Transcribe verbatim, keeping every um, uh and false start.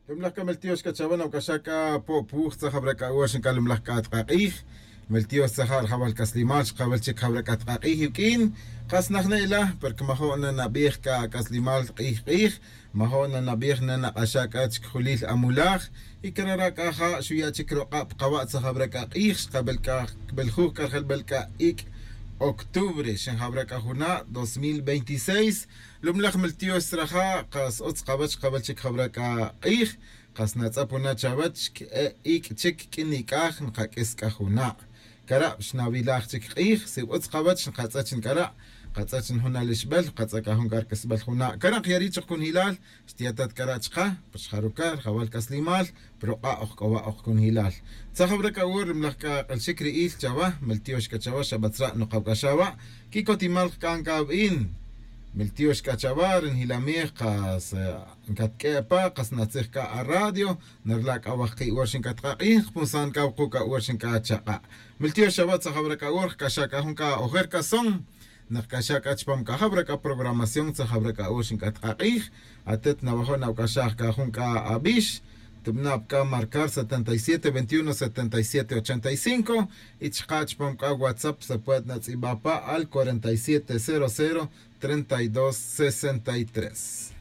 Lumlaj kameltiox kachawan awkaxaka pop wuj tzajab'rak'awux nkalumlaj k'atq'aq'ij meltiox tzajar jawal kaslimal xqab'al chik jab'rak atq'aq'ij iwk'in qas najne'la porque majo' nanab'ij ka ak'aslimal q'ij q'ij majo' nanab'ij nanaq'axa k'ach kjulil amulaj y karara k'aja xuya' chik roq'ab' qawa' tzajab'rak'aq'ij xqab'el k'a b'eljuj k'arjelb'el k'a ik' octubre xinjab'rak ajuna' dos mil veintiséis lumlaj meltiox raja' qas utz qawach xqab'al chik jab'rak q'ij qas natz'apuna chawach ik' chik k'in nik'aj nqak'is k'a juna' karab' xnawilaj chik q'ij si utz qawach nqatz'ach nk'ara' qatz'ach jun alixb'al qatz'ak jun k'ark'isb'al juna' karaq yari choq kun hilal xtiyatat k'ara' chqa xjaruka rjawal k'aslimal proq'a' ojk'owa' ojkun hilal tzajab'rak awur lumlaj k'a q'alxik ri'il chawa meltiox k'a chawa xab'atzra' nuqawk'axawa' kikotimal qk'an k'ab'in meltiox k'a chawa rinjilamij qas nkatk'epa qas natzij k'a a radio nerla k'a wajqi' war xinkatqaq'ij punsan k'a wuqu' war xink'a chaq'a' meltiox chawa tzajab'rak awur k'axa k'a jun k'a ojer k'ason naqk'axa k'a chpam k'a jab'rak a programación tzajab'rak awur xink'atqaq'ij atet nawajo' nawk'axaj k'a jun k'a ab'ix tib'nab' k'a marcar setenta y siete veintiuno setenta y siete ochenta y cinco y chqa chpam k'a WhatsApp se puede natz'ib'apa al cuarenta y siete cero cero treinta y dos sesenta y tres.